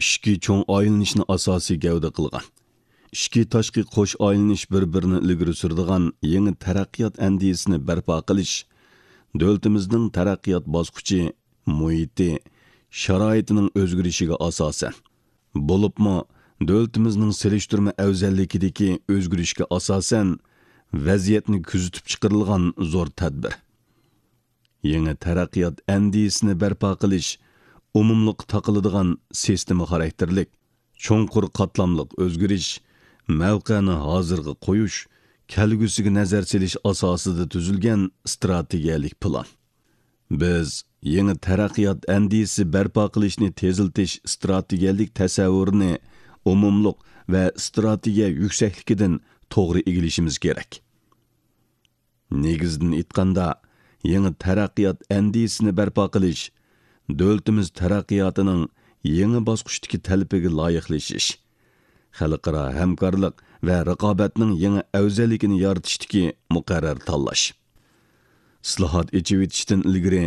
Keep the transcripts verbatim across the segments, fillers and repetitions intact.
ئىچكى چوڭ ئايلىنىشنى ئاساسىي گەۋدە قىلغان، ئىچكى تاشقى قوش ئايلىنىش بىر-بىرىنى ئىلگىرى سۈرىدىغان يېڭى تەرەققىيات ئەندىزىسىنى بەرپا قىلىش دۆلىتىمىزنىڭ تەرەققىيات باسقۇچى، مۇھىتى، شارائىتىنىڭ ئۆزگىرىشىگە ئاساسەن، بولۇپمۇ دۆلىتىمىزنىڭ سېلىشتۇرما ئەۋزەللىكىدىكى ئۆزگىرىشكە ئاساسەن، ۋەزىيەتنى كۆزىتىپ چىقىرىلغان زور تەدبىر. يېڭى تەرەققىيات ئەندىزىسىنى بەرپا قىلىش ئومۇملۇققا تاقىلىدىغان سىستېما خاراكتېرلىك، چوڭقۇر قاتلاملىق ئۆزگىرىش، مەۋقەنى ھازىرغا قويۇش، كەلگۈسىگە نەزەر سېلىش ئاساسىدا تۈزۈلگەن ئىستراتېگىيەلىك پىلان. بىز يېڭى تەرەققىيات ئەندىزىسى بەرپا قىلىشنى تېزلىتىش ئىستراتېگىيەلىك تەسەۋۋۇرىنى ئومۇملۇق ۋە ئىستراتېگىيە يۈكسەكلىكىدىن توغرا ئىگىلىشىمىز كېرەك. نېگىزىدىن ئېيتقاندا، يېڭى تەرەققىيات ئەندىزىسىنى بەرپا قىلىش دۆلىتىمىز تەرەققىياتىنىڭ يېڭى باسقۇچتىكى تەلىپىگە لايىقلىشىش، خەلقئارا ھەمكارلىق ۋە رىقابەتنىڭ يېڭى ئەۋزەللىكىنى يارىتىشتىكى مۇقەررەر تاللاش. ئىسلاھات، ئېچىۋېتىشتىن ئىلگىرى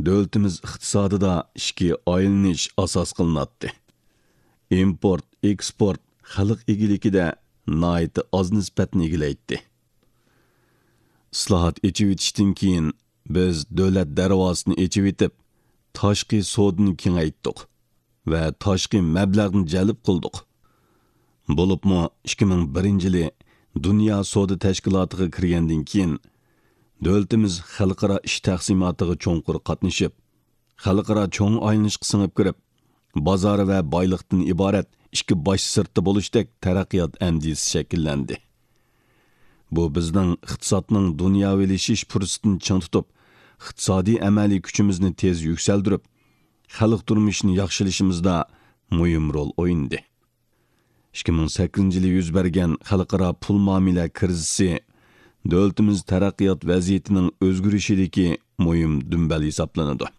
دۆلىتىمىز ئىقتىسادىدا ئىچكى ئايلىنىش ئاساس قىلىناتتى. ئىمپورت، ئېكسپورت خەلق ئىگىلىكىدە ناھايىتى ئاز نىسبەتنى ئىگىلەيتتى. ئىسلاھات، ئېچىۋېتىشتىن كېيىن بىز دۆلەت دەرۋازىسىنى ئېچىۋېتىپ، تاشقى سودىنى كېڭەيتتۇق ۋە تاشقى مەبلەغنى جەلپ قىلدۇق. بولۇپمۇ ئىككى مىڭ بىرىنچى يىلى دۇنيا سودا تەشكىلاتىغا كىرگەندىن كېيىن، دۆلىتىمىز خەلقئارا ئىش تەقسىماتىغا چوڭقۇر قاتنىشىپ، خەلقئارا چوڭ ئايلىنىشقا سىڭىپ كىرىپ، بازار ۋە بايلىقتىن ئىبارەت ئىككى باش سىرتتا بولۇشتەك تەرەققىيات ئەندىزىسى شەكىللەندى. بۇ بىزنىڭ ئىقتىسادنىڭ دۇنياۋىلىشىش پۇرسىتىنى چىڭ تۇتۇپ، ئىقتىسادىي ئەمەلىي كۈچىمىزنى تېز يۈكسەلدۈرۈپ، خەلق تۇرمۇشىنى ياخشىلىشىمىزدا مۇھىم رول ئوينىدى. ئىككى مىڭ سەككىزىنچى يىلى يۈز بەرگەن خەلقئارا پۇل مۇئامىلە كىرىزىسى دۆلىتىمىز تەرەققىيات ۋەزىيىتىنىڭ ئۆزگىرىشىدىكى مۇھىم دۈمبەل ھېسابلىنىدۇ.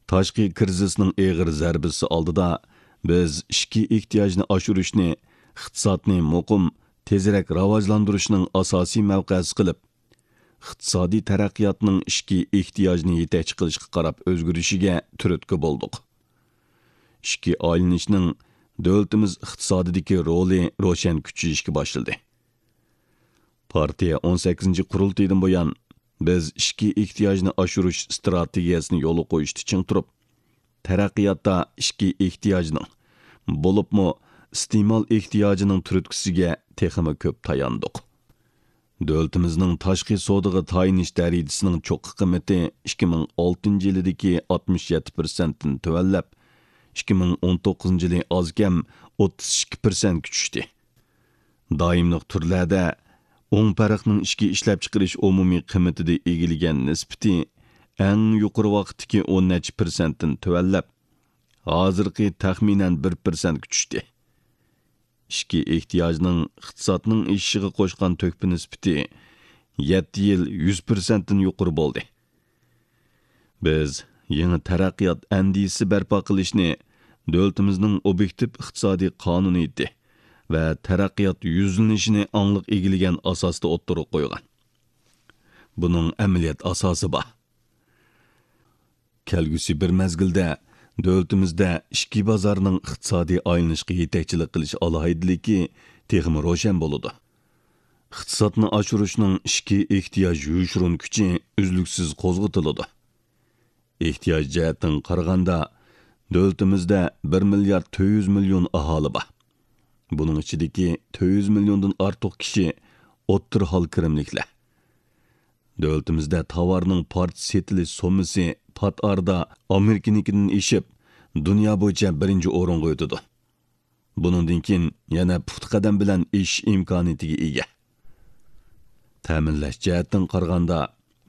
تاشقى كىرىزىسنىڭ ئېغىر زەربىسى ئالدىدا بىز ئىچكى ئېھتىياجنى ئاشۇرۇشنى ئىقتىسادنى مۇقىم، تېزرەك راۋاجلاندۇرۇشنىڭ ئاساسىي مەۋقەسى قىلىپ، ئىقتىسادىي تەرەققىياتنىڭ ئىچكى ئېھتىياجنى يېتەكچى قىلىشقا قاراپ ئۆزگىرىشىگە تۈرتكە بولدۇق. ئىچكى ئايلىنىشنىڭ دۆلىتىمىز ئىقتىسادىدىكى رولى روشەن كۈچىيىشكە باشلىدى. پارتىيە ئون سەككىزىنچى قۇرۇلتىيىدىن بۇيان، بىز ئىچكى ئېھتىياجنى ئاشۇرۇش ئىستراتېگىيەسىنى يولغا قويۇشتا چىڭ تۇرۇپ، تەرەققىياتتا ئىچكى ئېھتىياجنىڭ، بولۇپمۇ ئىستېمال ئېھتىياجىنىڭ تۈرتكىسىگە تېخىمۇ كۆپ تاياندۇق. دۆلىتىمىزنىڭ تاشقى سودىغا تايىنىش دەرىجىسىنىڭ چوققا قىممىتى ئىككى مىڭ ئالتىنچى يىلىدىكى ئاتمىش يەتتە پىرسەنتتىن تۆۋەنلەپ، ئىككى مىڭ ئون توققۇزىنچى يىلى ئازكەم ئوتتۇز ئىككى پىرسەنتكە چۈشتى. دائىملىق تۈرلەردە ئوڭ پەرقنىڭ ئىچكى ئىشلەپچىقىرىش ئومۇمىي قىممىتىدە ئىگىلىگەن نىسبىتى ئەڭ يۇقىرى ۋاقىتتىكى ئون نەچچە پىرسەنتتىن تۆۋەنلەپ، ھازىرقى تەخمىنەن بىر پىرسەنتكە چۈشتى. ئىچكى ئېھتىياجنىڭ ئىقتىسادنىڭ ئېشىشىغا قوشقان تۆھپە نىسبىتى يەتتە يىل يۈز پىرسەنتتىن يۇقىرى بولدى. بىز يېڭى تەرەققىيات ئەندىزىسى بەرپا قىلىشنى دۆلىتىمىزنىڭ ئوبيېكتىپ ئىقتىسادىي قانۇنىيىتى ۋە تەرەققىيات يۈزلىنىشىنى ئاڭلىق ئىگىلىگەن ئاساستا ئوتتۇرىغا قويغان. بۇنىڭ ئەمەلىيەت ئاساسى بار. كەلگۈسى بىر مەزگىلدە دۆلىتىمىزدە ئىچكى بازارنىڭ ئىقتىسادىي ئايلىنىشقا يېتەكچىلىك قىلىش ئالاھىدىلىكى تېخىمۇ روشەن بولىدۇ. ئىقتىسادنى ئاشۇرۇشنىڭ ئىچكى ئېھتىياج يوشۇرۇن كۈچى ئۈزلۈكسىز قوزغىتىلىدۇ. ئېھتىياج جەھەتتىن قارىغاندا، دۆلىتىمىزدە بىر مىليارد تۆت يۈز مىليون ئاھالى بار. بۇنىڭ ئىچىدىكى تۆت يۈز مىليوندىن ئارتۇق كىشى ئوتتۇرا ھال كىرىملىكلەر. دۆلىتىمىزدە تاۋارنىڭ پارچە سېتىلىش سوممىسى پات ئارىدا ئامېرىكىنىڭكىدىن ئېشىپ، دۇنيا بويىچە بىرىنچى ئورۇنغا ئۆتىدۇ. بۇنىڭدىن كېيىن يەنە پۇختا قەدەم بىلەن ئېشىش ئىمكانىيىتىگە ئىگە. تەمىنلەش جەھەتتىن قارىغاندا،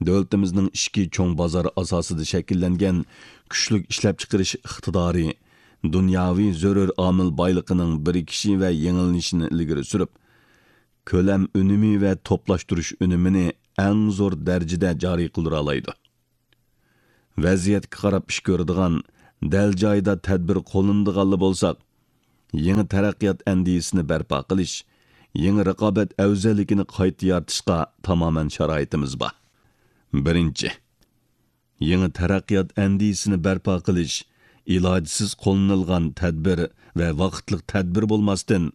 دۆلىتىمىزنىڭ ئىچكى چوڭ بازار ئاساسىدا شەكىللەنگەن كۈچلۈك ئىشلەپچىقىرىش ئىقتىدارى، دۇنياۋى زۆرۈر ئامىل بايلىقىنىڭ بىرىكىشى ۋە يېڭىلىنىشىنى ئىلگىرى سۈرۈپ، كۆلەم ئۈنۈمى ۋە توپلاشتۇرۇش ئۈنۈمىنى ئەڭ زور دەرىجىدە جارى قىلدۇرالايدۇ. ۋەزىيەتكە قاراپ ئىش كۆرىدىغان، دەل جايىدا تەدبىر قوللىنىدىغانلا بولساق، يېڭى تەرەققىيات ئەندىزىسىنى بەرپا قىلىش، يېڭى رىقابەت ئەۋزەللىكىنى قايتا يارىتىشقا تامامەن شارائىتىمىز بار. بىرىنچى، يېڭى تەرەققىيات ئەندىزىسىنى بەرپا قىلىش، ئىلاجسىز قوللىنىلغان تەدبىر ۋە ۋاقىتلىق تەدبىر بولماستىن،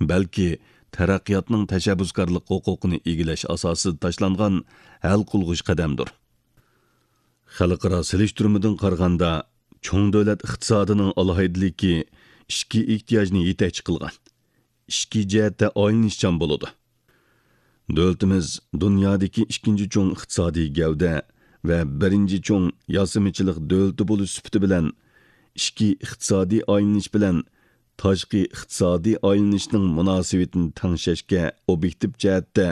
بەلكى تەرەققىياتنىڭ تەشەببۇسكارلىق ھوقۇقىنى ئىگىلەش ئاساسىدا تاشلانغان ھەل قىلغۇچ قەدەمدۇر. خەلقئارا سېلىشتۇرمىدىن قارىغاندا، چوڭ دۆلەت ئىقتىسادىنىڭ ئالاھىدىلىكى ئىچكى ئېھتىياجنى يېتەكچى قىلغان، ئىچكى جەھەتتە ئايلىنىشچان بولىدۇ. دۆلىتىمىز دۇنيادىكى ئىككىنچى چوڭ ئىقتىسادىي گەۋدە ۋە بىرىنچى چوڭ ياسىمىچىلىق دۆلىتى بولۇش سۈپىتى بىلەن، ئىچكى ئىقتىسادىي ئايلىنىش بىلەن تاشقى ئىقتىسادىي ئايلىنىشنىڭ مۇناسىۋىتىنى تەڭشەشكە ئوبيېكتىپ جەھەتتە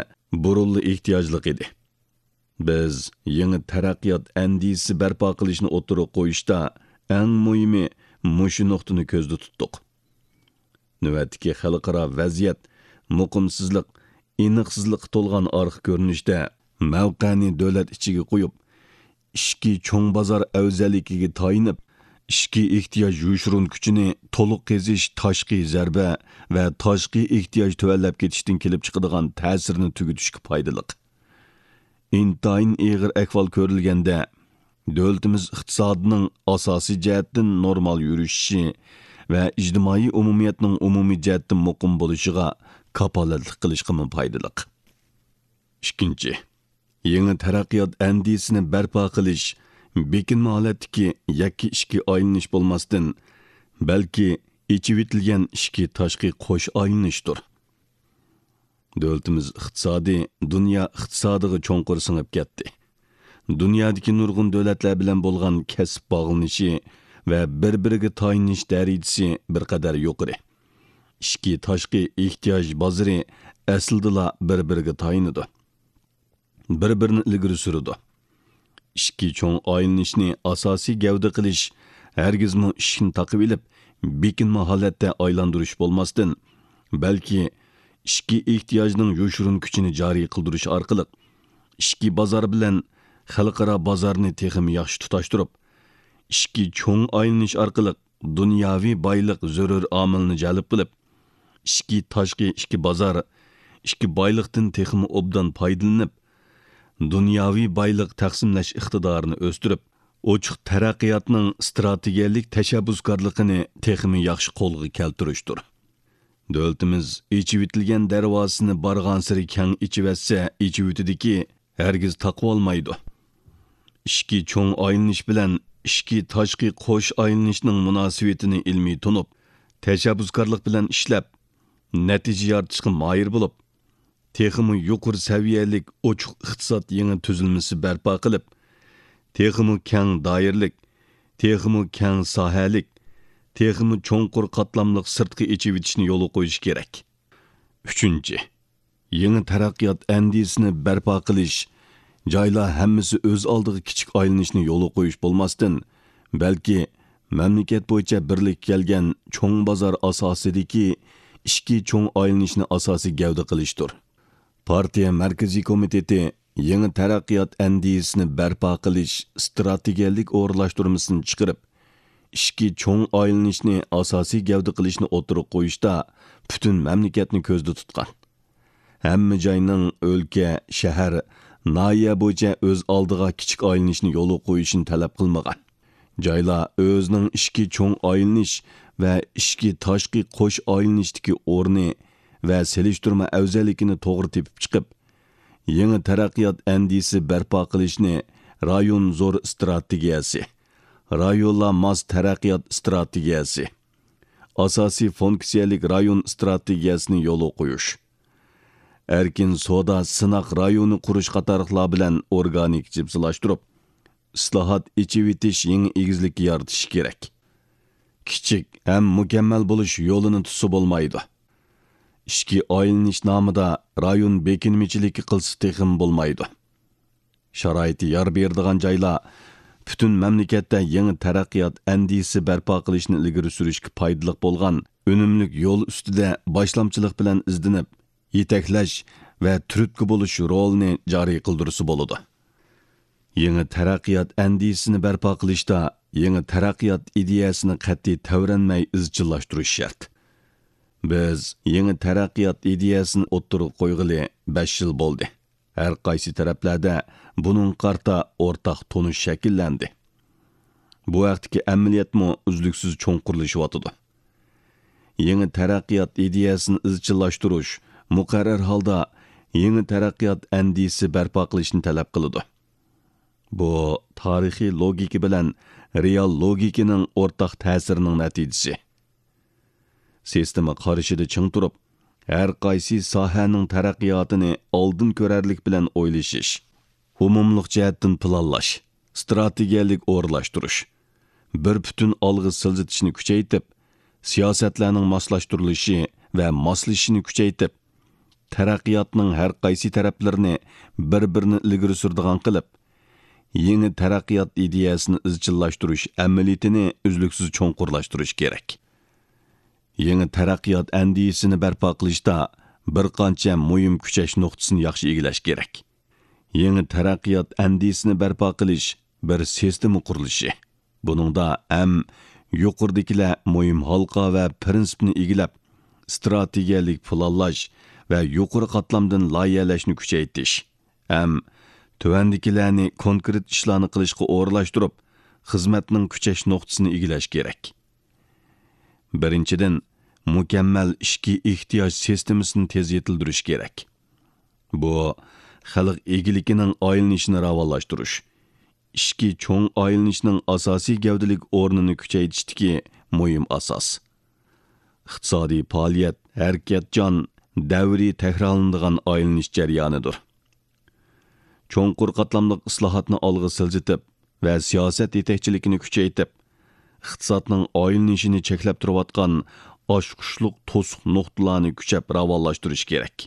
بۇرۇنلا ئېھتىياجلىق ئىدى. بىز يېڭى تەرەققىيات ئەندىزىسى بەرپا قىلىشنى ئوتتۇرىغا قويۇشتا، ئەڭ مۇھىمى مۇشۇ نۇقتىنى كۆزدە تۇتتۇق. نۆۋەتتىكى خەلقئارا ۋەزىيەت مۇقىمسىزلىق، ئېنىقسىزلىققا تولغان ئارقا كۆرۈنۈشتە، مەۋقەنى دۆلەت ئىچىگە قويۇپ، ئىچكى چوڭ بازار ئەۋزەللىكىگە تايىنىپ، ئىچكى ئېھتىياج يوشۇرۇن كۈچىنى تولۇق قېزىش تاشقى زەربە ۋە تاشقى ئېھتىياج تۆۋەنلەپ كېتىشتىن كېلىپ چىقىدىغان تەسىرنى تۈگىتىشكە پايدىلىق. ئىنتايىن ئېغىر ئەھۋال كۆرۈلگەندە، دۆلىتىمىز ئىقتىسادىنىڭ ئاساسىي جەھەتتىن نورمال يۈرۈشۈشى ۋە ئىجتىمائىي ئومۇمىيەتنىڭ ئومۇمىي جەھەتتىن مۇقىم بولۇشىغا كاپالەتلىك قىلىشقىمۇ پايدىلىق. ئىككىنچى، يېڭى تەرەققىيات ئەندىزىسىنى بەرپا قىلىش بېكىنمە ھالەتتىكى يەككە ئىچكى ئايلىنىش بولماستىن، بەلكى ئېچىۋېتىلگەن ئىچكى تاشقى قوش ئايلىنىشتۇر. دۆلىتىمىز ئىقتىسادى دۇنيا ئىقتىسادىغا چوڭقۇر سىڭىپ كەتتى. دۇنيادىكى نۇرغۇن دۆلەتلەر بىلەن بولغان كەسىپ باغلىنىشى ۋە بىر-بىرىگە تايىنىش دەرىجىسى بىر قەدەر يۇقىرى. ئىچكى تاشقى ئېھتىياج بازىرى ئەسلىدىلا بىر-بىرىگە تايىنىدۇ، بىر-بىرىنى ئىلگىرى سۈرىدۇ. ئىچكى چوڭ ئايلىنىشنى ئاساسىي گەۋدە قىلىش ھەرگىزمۇ ئىشىكنى تاقىۋېلىپ، بېكىنمە ھالەتتە ئايلاندۇرۇش بولماستىن، بەلكى ئىچكى ئېھتىياجنىڭ يوشۇرۇن كۈچىنى جارى قىلدۇرۇش ئارقىلىق، ئىچكى بازار بىلەن خەلقئارا بازارنى تېخىمۇ ياخشى تۇتاشتۇرۇپ، ئىچكى چوڭ ئايلىنىش ئارقىلىق دۇنياۋى بايلىق زۆرۈر ئامىلنى جەلپ قىلىپ، ئىچكى تاشقى ئىككى بازار، ئىككى بايلىقتىن تېخىمۇ ئوبدان پايدىلىنىپ، دۇنياۋى بايلىق تەقسىملەش ئىقتىدارىنى ئۆستۈرۈپ، ئوچۇق تەرەققىياتنىڭ ئىستراتېگىيەلىك تەشەببۇسكارلىقىنى تېخىمۇ ياخشى قولغا كەلتۈرۈشتۇر. دۆلىتىمىز ئېچىۋېتىلگەن دەرۋازىسىنى بارغانسېرى كەڭ ئېچىۋەتسە، ئېچىۋېتىدىكى، ھەرگىز تاقىۋالمايدۇ. ئىچكى چوڭ ئايلىنىش بىلەن ئىچكى تاشقى قوش ئايلىنىشنىڭ مۇناسىۋىتىنى ئىلمىي تونۇپ، تەشەببۇسكارلىق بىلەن ئىشلەپ، نەتىجە يارىتىشقا ماھىر بولۇپ، تېخىمۇ يۇقىرى سەۋىيەلىك ئوچۇق ئىقتىساد يېڭى تۈزۈلمىسى بەرپا قىلىپ، تېخىمۇ كەڭ دائىرىلىك، تېخىمۇ كەڭ ساھەلىك، تېخىمۇ چوڭقۇر قاتلاملىق سىرتقا ئېچىۋېتىشنى يولغا قويۇش كېرەك. ئۈچىنچى، يېڭى تەرەققىيات ئەندىزىسىنى بەرپا قىلىش، جايلار ھەممىسى ئۆز ئالدىغا كىچىك ئايلىنىشنى يولغا قويۇش بولماستىن، بەلكى مەملىكەت بويىچە بىرلىككە كەلگەن چوڭ بازار ئاساسىدىكى ئىچكى چوڭ ئايلىنىشنى ئاساسىي گەۋدە قىلىشتۇر. پارتىيە مەركىزىي كومىتېتى يېڭى تەرەققىيات ئەندىزىسىنى بەرپا قىلىش ئىستراتېگىيەلىك ئورۇنلاشتۇرمىسىنى چىقىرىپ، ئىچكى چوڭ ئايلىنىشنى ئاساسىي گەۋدە قىلىشنى ئوتتۇرىغا قويۇشتا پۈتۈن مەملىكەتنى كۆزدە تۇتقان. ھەممە جاينىڭ ئۆلكە، شەھەر، ناھىيە بويىچە ئۆز ئالدىغا كىچىك ئايلىنىشنى يولغا قويۇشىنى تەلەپ قىلمىغان. جايلار ئۆزىنىڭ ئىچكى چوڭ ئايلىنىش ۋە ئىچكى تاشقى قوش ئايلىنىشتىكى ئورنى ۋە سېلىشتۇرما ئەۋزەللىكىنى توغرا تېپىپ چىقىپ، يېڭى تەرەققىيات ئەندىزىسى بەرپا قىلىشنى رايون زور ئىستراتېگىيەسى، رايونلار ماس تەرەققىيات ئىستراتېگىيەسى، ئاساسىي فۇنكسىيەلىك رايون ئىستراتېگىيەسىنى يولغا قويۇش، ئەركىن سودا سىناق رايونى قۇرۇش قاتارلىقلار بىلەن ئورگانىك جىپسىلاشتۇرۇپ، ئىسلاھات، ئېچىۋېتىش يېڭى ئېگىزلىكى يارىتىش كېرەك. كىچىك ھەم مۇكەممەل بولۇش يولىنى تۇتسا بولمايدۇ. ئىچكى ئايلىنىش نامىدا رايون بېكىنمىچىلىكى قىلسا تېخىمۇ بولمايدۇ. شارائىتى يار بېرىدىغان جايلار پۈتۈن مەملىكەتتە يېڭى تەرەققىيات ئەندىزىسى بەرپا قىلىشنى ئىلگىرى سۈرۈشكە پايدىلىق بولغان ئۈنۈملۈك يول ئۈستىدە باشلامچىلىق بىلەن ئىزدىنىپ، يېتەكلەش ۋە تۈرتكە بولۇش رولىنى جارى قىلدۇرسا بولىدۇ. يېڭى تەرەققىيات ئەندىزىسىنى بەرپا قىلىشتا يېڭى تەرەققىيات ئىدىيەسىنى قەتئىي تەۋرەنمەي ئىزچىللاشتۇرۇش شەرت. بىز يېڭى تەرەققىيات ئىدىيەسىنى ئوتتۇرىغا قويغىلى بەش يىل بولدى. ھەر قايسى تەرەپلەردە بۇنىڭغا قارىتا ئورتاق تونۇش شەكىللەندى. بۇ ھەقتىكى ئەمەلىيەتمۇ ئۈزلۈكسىز چوڭقۇرلىشىۋاتىدۇ. يېڭى تەرەققىيات ئىدىيەسىنى ئىزچىللاشتۇرۇش مۇقەررەر ھالدا يېڭى تەرەققىيات ئەندىزىسى بەرپا قىلىشنى تەلەپ قىلىدۇ. بۇ تارىخىي لوگىكا بىلەن رېئال لوگىكىنىڭ ئورتاق تەسىرىنىڭ نەتىجىسى. سىستېما قارىشىدا چىڭ تۇرۇپ، ھەر قايسى ساھەنىڭ تەرەققىياتىنى ئالدىن كۆرەرلىك بىلەن ئويلىشىش، ئومۇملۇق جەھەتتىن پىلانلاش، ئىستراتېگىيەلىك ئورۇنلاشتۇرۇش، بىر پۈتۈن ئالغا سىلجىتىشنى كۈچەيتىپ، سىياسەتلەرنىڭ ماسلاشتۇرۇلۇشى ۋە ماسلىشىشىنى كۈچەيتىپ، تەرەققىياتنىڭ ھەر قايسى تەرەپلىرىنى بىر-بىرىنى ئىلگىرى سۈرىدىغان قىلىپ، يېڭى تەرەققىيات ئىدىيەسىنى ئىزچىللاشتۇرۇش ئەمەلىيىتىنى ئۈزلۈكسىز چوڭقۇرلاشتۇرۇش كېرەك. يېڭى تەرەققىيات ئەندىزىسىنى بەرپا قىلىشتا بىر قانچە مۇھىم كۈچەش نۇقتىسىنى ياخشى ئىگىلەش كېرەك. يېڭى تەرەققىيات ئەندىزىسىنى بەرپا قىلىش بىر سىستېما قۇرۇلۇشى. بۇنىڭدا ھەم يۇقىرىدىكىلەر مۇھىم ھالقا ۋە پىرىنسىپنى ئىگىلەپ، ئىستراتېگىيەلىك پىلانلاش ۋە يۇقىرى قاتلامدىن لايىھەلەشنى كۈچەيتىش، ھەم تۆۋەندىكىلەرنى كونكرېت ئىشلارنى قىلىشقا ئورۇنلاشتۇرۇپ، خىزمەتنىڭ كۈچەش نۇقتىسىنى ئىگىلەش كېرەك. بىرىنچىدىن، مۇكەممەل ئىچكى ئېھتىياج سىستېمىسىنى تېز يېتىلدۈرۈش كېرەك. بۇ، خەلق ئىگىلىكىنىڭ ئايلىنىشىنى راۋانلاشتۇرۇش، ئىچكى چوڭ ئايلىنىشنىڭ ئاساسىي گەۋدىلىك ئورنىنى كۈچەيتىشتىكى مۇھىم ئاساس. ئىقتىسادىي پائالىيەت ھەرىكەتچان، دەۋرىي تەكرارلىنىدىغان ئايلىنىش جەريانىدۇر. چوڭقۇر قاتلاملىق ئىسلاھاتنى ئالغا سىلجىتىپ ۋە سىياسەت يېتەكچىلىكىنى كۈچەيتىپ، ئىقتىسادنىڭ ئايلىنىشىنى چەكلەپ تۇرۇۋاتقان ئاچقۇچلۇق توسۇق نۇقتىلارنى كۈچەپ راۋانلاشتۇرۇش كېرەك.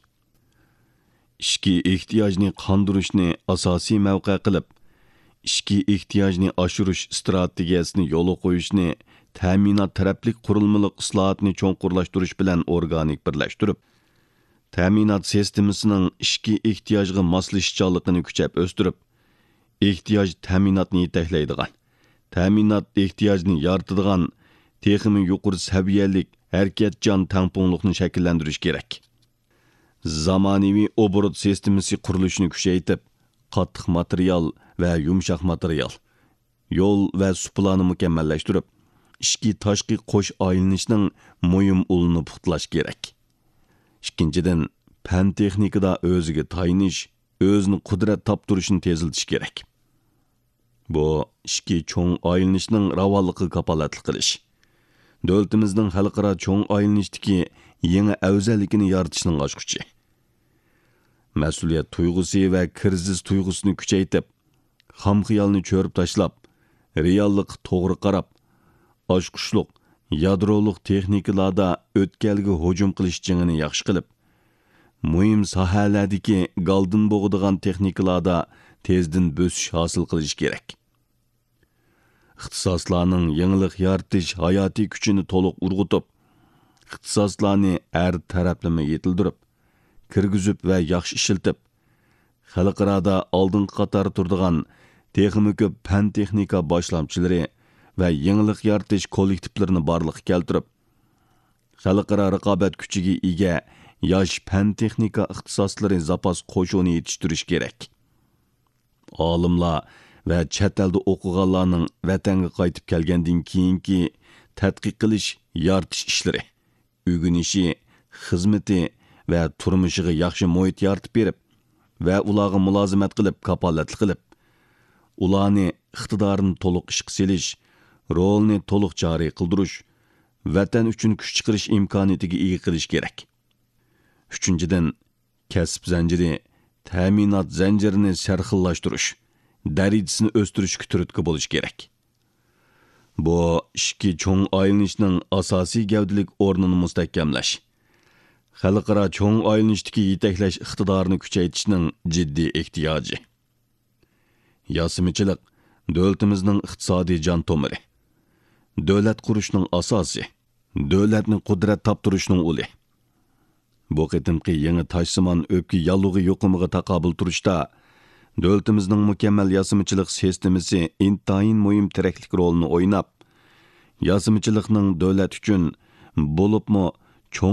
ئىچكى ئېھتىياجنى قاندۇرۇشنى ئاساسىي مەۋقە قىلىپ، ئىچكى ئېھتىياجنى ئاشۇرۇش ئىستراتېگىيەسىنى يولغا قويۇشنى تەمىنات تەرەپلىك قۇرۇلمىلىق ئىسلاھاتنى چوڭقۇرلاشتۇرۇش بىلەن ئورگانىك بىرلەشتۈرۈپ، تەمىنات سىستېمىسىنىڭ ئىچكى ئېھتىياجغا ماسلىشىشچانلىقىنى كۈچەپ ئۆستۈرۈپ، ئېھتىياج تەمىناتنى يېتەكلەيدىغان، تەمىنات ئېھتىياجنى يارىتىدىغان تېخىمۇ يۇقىرى سەۋىيەلىك ھەرىكەتچان تەڭپۇڭلۇقنى شەكىللەندۈرۈش كېرەك. زامانىۋى ئوبوروت سىستېمىسى قۇرۇلۇشىنى كۈچەيتىپ، قاتتىق ماتېرىيال ۋە يۇمشاق ماتېرىيال، يول ۋە سۇپىلارنى مۇكەممەللەشتۈرۈپ، ئىچكى تاشقى قوش ئايلىنىشنىڭ مۇھىم ئۇلىنى پۇختىلاش كېرەك. ئىككىنچىدىن، پەن تېخنىكىدا ئۆزىگە تايىنىش، ئۆزىنى قۇدرەت تاپتۇرۇشنى تېزلىتىش كېرەك. بۇ ئىچكى چوڭ ئايلىنىشنىڭ راۋانلىقىغا كاپالەتلىك قىلىش. دۆلىتىمىزنىڭ خەلقئارا چوڭ ئايلىنىشتىكى يېڭى ئەۋزەللىكىنى يارىتىشنىڭ ئاچقۇچى. مەسئۇلىيەت تۇيغۇسى ۋە كىرىزىس تۇيغۇسىنى كۈچەيتىپ، خام خىيالنى چۆرۈپ تاشلاپ، رېئاللىققا توغرا قاراپ، ئاچقۇچلۇق، يادرولۇق تېخنىكىلاردا ئۆتكەلگە ھۇجۇم قىلىش جېڭىنى ياخشى قىلىپ، مۇھىم ساھەلەردىكى گالدىن بوغىدىغان تېخنىكىلاردا تېزدىن بۆسۈش ھاسىل قىلىش كېرەك. ئىختىساسلارنىڭ يېڭىلىق يارىتىش ھاياتىي كۈچىنى تولۇق ئۇرغۇتۇپ، ئىختىساسلارنى ھەر تەرەپلىمە يېتىلدۈرۈپ، كىرگۈزۈپ ۋە ياخشى ئىشلىتىپ، خەلقئارادا ئالدىنقى قاتاردا تۇرىدىغان تېخىمۇ كۆپ پەن-تېخنىكا باشلامچىلىرى ۋە يېڭىلىق يارىتىش كوللېكتىپلىرىنى بارلىققا كەلتۈرۈپ، خەلقئارا رىقابەت كۈچىگە ئىگە ياش پەن-تېخنىكا ئىختىساسلىرى زاپاس قوشۇنى يېتىشتۈرۈش كېرەك. ئالىملار ۋە چەت ئەلدە ئوقۇغانلارنىڭ ۋەتەنگە قايتىپ كەلگەندىن كېيىنكى تەتقىق قىلىش، يارىتىش ئىشلىرى، ئۆگىنىشى، خىزمىتى ۋە تۇرمۇشىغا ياخشى مۇھىت يارىتىپ بېرىپ ۋە ئۇلارغا مۇلازىمەت قىلىپ، كاپالەتلىك قىلىپ، ئۇلارنى ئىقتىدارىنى تولۇق ئىشقا سېلىش، رولىنى تولۇق جارى قىلدۇرۇش، ۋەتەن ئۈچۈن كۈچ چىقىرىش ئىمكانىيىتىگە ئىگە قىلىش كېرەك. ئۈچىنچىدىن، كەسىپ زەنجىرى، تەمىنات زەنجىرىنى سەرخىللاشتۇرۇش، دەرىجىسىنى ئۆستۈرۈشكە تۈرتكە بولۇش كېرەك. بۇ ئىچكى چوڭ ئايلىنىشنىڭ ئاساسىي گەۋدىلىك ئورنىنى مۇستەھكەملەش، خەلقئارا چوڭ ئايلىنىشتىكى يېتەكلەش ئىقتىدارىنى كۈچەيتىشنىڭ جىددىي ئېھتىياجى. ياسىمىچىلىق دۆلىتىمىزنىڭ ئىقتىسادىي جان تومۇرى، دۆلەت قۇرۇشنىڭ ئاساسى، دۆلەتنى قۇدرەت تاپتۇرۇشنىڭ ئۇلى. بۇ قېتىمقى يېڭى تاشسىمان ئۆپكە ياللۇغى يۇقۇمىغا تاقابىل تۇرۇشتا، دۆلىتىمىزنىڭ مۇكەممەل ياسىمىچىلىق سىستېمىسى ئىنتايىن مۇھىم تىرەكلىك رولىنى ئويناپ، ياسىمىچىلىقنىڭ دۆلەت ئۈچۈن، بولۇپمۇ چوڭ